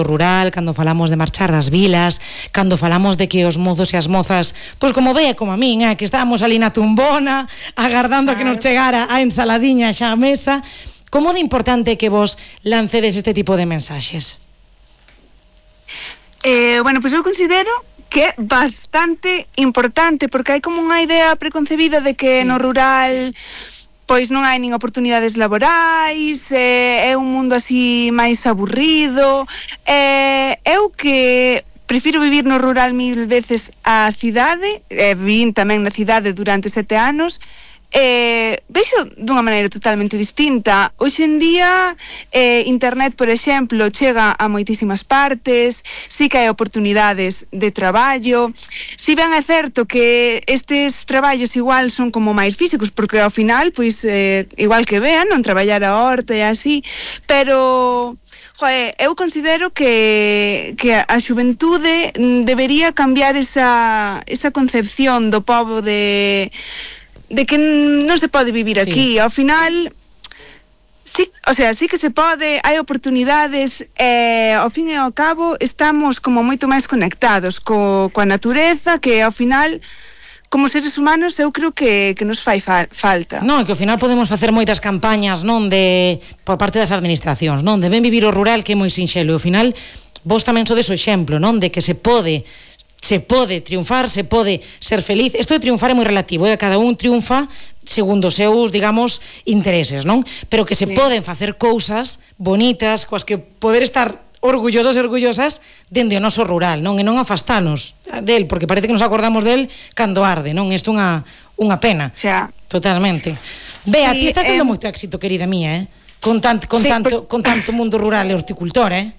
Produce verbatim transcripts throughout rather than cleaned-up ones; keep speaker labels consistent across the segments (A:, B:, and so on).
A: rural, cando falamos de marchar das vilas, cando falamos de que os mozos e as mozas, pois como ve como a min, eh, que estábamos ali na tumbona agardando a que nos chegara a ensaladiña xa a mesa. Como de importante que vos lancedes este tipo de mensaxes?
B: Eh, bueno, pois eu considero que é bastante importante, porque hai como unha idea preconcebida de que sí. no rural pois non hai nin oportunidades laborais, eh, é un mundo así máis aburrido. Eh, eu que prefiro vivir no rural mil veces a cidade, eh, vivín tamén na cidade durante sete anos, Eh, vexo dunha maneira totalmente distinta. Hoxe en día eh, internet, por exemplo, chega a moitísimas partes, sí que hai oportunidades de traballo. Si ben é certo que estes traballos igual son como máis físicos, porque ao final, pois, eh, igual que vean, non traballar a horta e así, pero joe, eu considero que, que a xuventude debería cambiar esa, esa concepción do pobo de de que non se pode vivir aquí. Sí. Ao final, sí, o sea, sí que se pode, hai oportunidades, e ao fin e ao cabo estamos como moito máis conectados co, coa natureza, que ao final, como seres humanos, eu creo que, que nos fai fa, falta.
A: Non, que ao final podemos facer moitas campañas, non, de por parte das administracións, non, de ben vivir o rural, que é moi sinxelo, e ao final vos tamén sodes o exemplo, non, de que se pode se pode triunfar, se pode ser feliz. Isto de triunfar é moi relativo, eh? Cada un triunfa segundo os seus, digamos, intereses, non? Pero que se sí. poden facer cousas bonitas, coas que poder estar orgullosas e orgullosas dende o noso rural, non? E non afastanos del, porque parece que nos acordamos del cando arde, non? Isto é unha, unha pena.
B: Xa.
A: Totalmente. Bea,
B: sí,
A: ti estás tendo
B: eh...
A: moito éxito, querida mía, eh? Con tanto, con, sí, tanto, pues... con tanto mundo rural e horticultor, eh?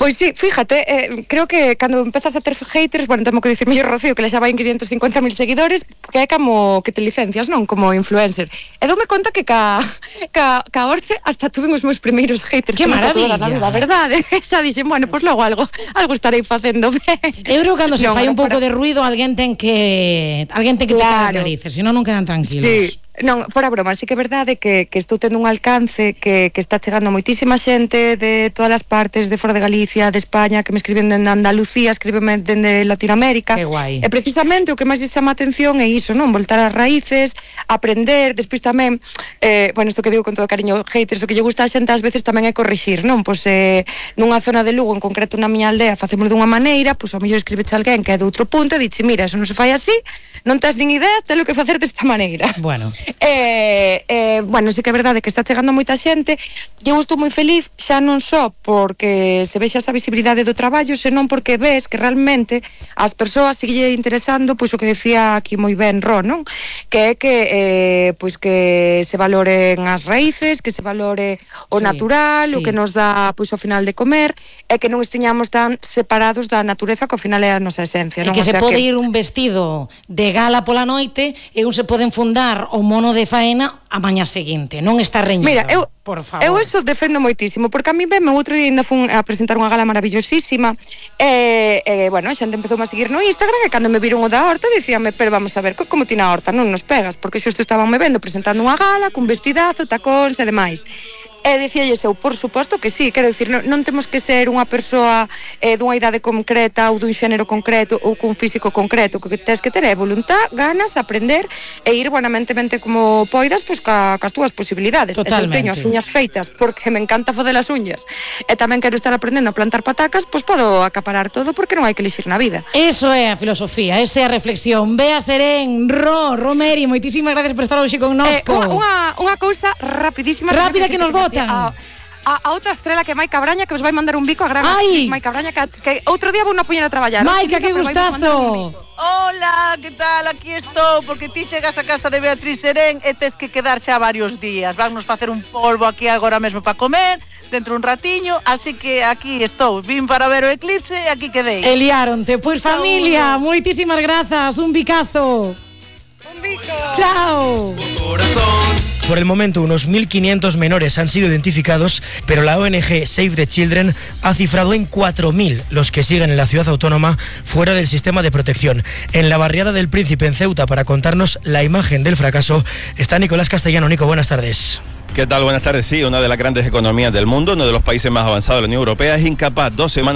C: Pois sí, fíjate, eh, creo que cando empezas a ter haters, bueno, temo que dicir mellor Rocío, que le xa vai en quinientos cincuenta mil seguidores, que é como que te licencias, non? Como influencer. E doume conta que ca, ca, ca Orce hasta tuve os meus primeiros haters.
A: Que maravilla!
C: Na vida, verdade? Xa dixen, bueno, pois pues logo algo, algo estarei facendo ben.
A: Eu creo que cando se no, fai un pouco para... de ruido, alguén ten que alguén ten que claro. tocar as narices, senón non quedan tranquilos.
C: Sí. Non, fora broma, sí que é verdade que, que estou tendo un alcance que, que está chegando moitísima xente de todas as partes, de fora de Galicia, de España, que me escriben dende Andalucía, escríbeme dende Latinoamérica.
A: Que guai.
C: E precisamente o que máis lle chama a atención é iso, non? Voltar ás raíces, aprender, despois tamén, eh, bueno, isto que digo con todo cariño, haters, o que lle gusta a xente ás veces tamén é corrixir, non? Pois eh, nunha zona de Lugo, en concreto na miña aldea, facemos dunha maneira, pois ao mellor escribeche alguén que é de outro punto e dixe, mira, eso non se fai así, non tes nin idea, telo que facer desta maneira.
A: Bueno.
C: Eh, eh, bueno, sí que é verdade que está chegando moita xente e eu estou moi feliz xa non só porque se vexa esa visibilidade do traballo, senón porque ves que realmente as persoas sigue interesando pois o que decía aquí moi ben Ro, non? Que é que eh, pois que se valoren as raíces, que se valore o sí, natural, sí. o que nos dá pois ao final de comer, e que non estiñamos tan separados da natureza que ao final é a nosa esencia, non?
A: E que
C: o
A: se
C: sea
A: pode
C: que...
A: ir un vestido de gala pola noite e un se pode enfundar o mono de faena a mañá seguinte, non está reñido.
C: Mira, eu,
A: por favor.
C: Eu eso defendo moitísimo, porque a mí ben, o outro día ainda fun a presentar unha gala maravillosísima e, e bueno, a xente empezou a seguir no Instagram e cando me viron o da horta dicíame, pero vamos a ver, como ti na horta non nos pegas, porque xusto estaban me vendo presentando unha gala cun vestidazo, tacóns e demais. E dicíalles eu, por suposto que sí, quero dicir, non, non temos que ser unha persoa eh, dunha idade concreta ou dun xénero concreto ou cun físico concreto, o que tens que ter é voluntad, ganas, aprender e ir buenamentemente como poidas, pois ca, cas túas posibilidades.
A: Totalmente.
C: E se eu teño as uñas feitas porque me encanta foder as uñas e tamén quero estar aprendendo a plantar patacas, pois podo acaparar todo porque non hai que elixir na vida.
A: Eso é a filosofía, esa é a reflexión. Bea Serén, Ro, Romeri, moitísimas gracias por estar hoxe connosco.
C: Eh, unha, unha cousa rapidísima.
A: Rápida que nos bota.
C: A, a, a outra estrela que é Maica Braña, que os vai mandar un bico a gran Maica Braña, que, que outro día vou na poñer a traballar.
A: Maica, que gustazo.
D: Hola, que tal? Aquí estou, porque ti chegas a casa de Beatriz Serén e tes que quedar xa varios días. Vamos facer un polvo aquí agora mesmo para comer, dentro un ratiño, así que aquí estou. Vim para ver o eclipse e aquí quedei.
A: Eliaronte, pois pues, familia, moitísimas grazas, un bicazo.
C: Un bico.
A: Chao.
E: Por el momento, unos mil quinientos menores han sido identificados, pero la O N G Save the Children ha cifrado en cuatro mil los que siguen en la ciudad autónoma fuera del sistema de protección. En la barriada del Príncipe, en Ceuta, para contarnos la imagen del fracaso, está Nicolás Castellano. Nico, buenas tardes.
F: ¿Qué tal? Buenas tardes. Sí, una de las grandes economías del mundo, uno de los países más avanzados de la Unión Europea, es incapaz dos semanas